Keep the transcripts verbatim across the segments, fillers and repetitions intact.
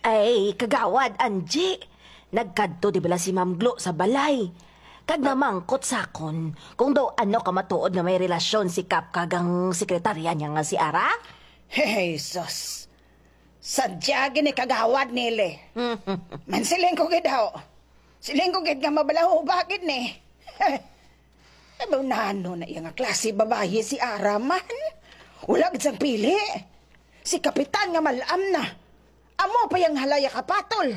Ay, Kagawad Angie, nagkadto di bala si Ma'am Glo sa balay? Kag namangkot sa akon kung daw ano ka matuod nga may relasyon si Kap kag ang sekretarya niya nga si Ara? Hey, sus. Sadya gid ni Kagawad Nili. Mansiling ko gid daw. Siling ko gid nga mabalahuba gid ni. Ano nano na iya nga klase babayi si Ara man? Wala gid sang pili. Si Kapitan nga malam na. Amo pa yang halaya kapatol.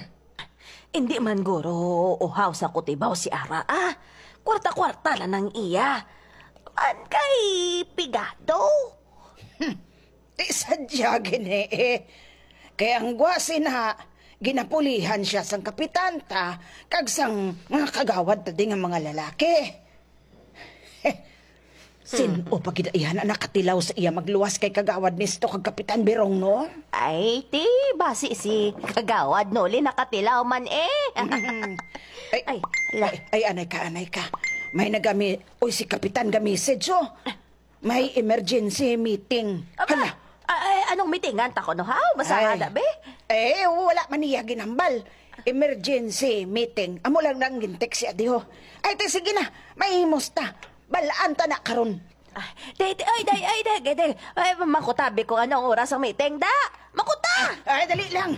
Hindi man guro uhaw sa kutibaw si Ara, ah. Kwarta-kwarta lang ang iya. An kay pigado. Di sadya gini eh. Kay ang gwasi na, ginapulihan siya sang kapitan ta, kag sang mga kagawad ta di nga mga lalaki. Sin-o pa gid iya na nakatilaw sa iya magluwas kay Kagawad Nisto kag Kapitan Birong, no? Ay, ti, basi si Kagawad Noli nakatilaw man eh. Mm. Ay, Ay, ay, la. Ay, anay ka, anay ka. May nagami, oy, si Kapitan ga-message, oh. May emergency meeting. Aba, Hala. Ay, anong meetingan ta ko, no? Haw, masahada, be? Eh, wala man niya ginambal. Emergency meeting. Amo lang nang gintext siya diho. Ay, te, sige na. May musta. Balaan ta na karon. Ay, day, day, ay, day, day, day, day. Ay, makutabi ko anong oras ang meeting, da. Makuta! Ay, dali lang.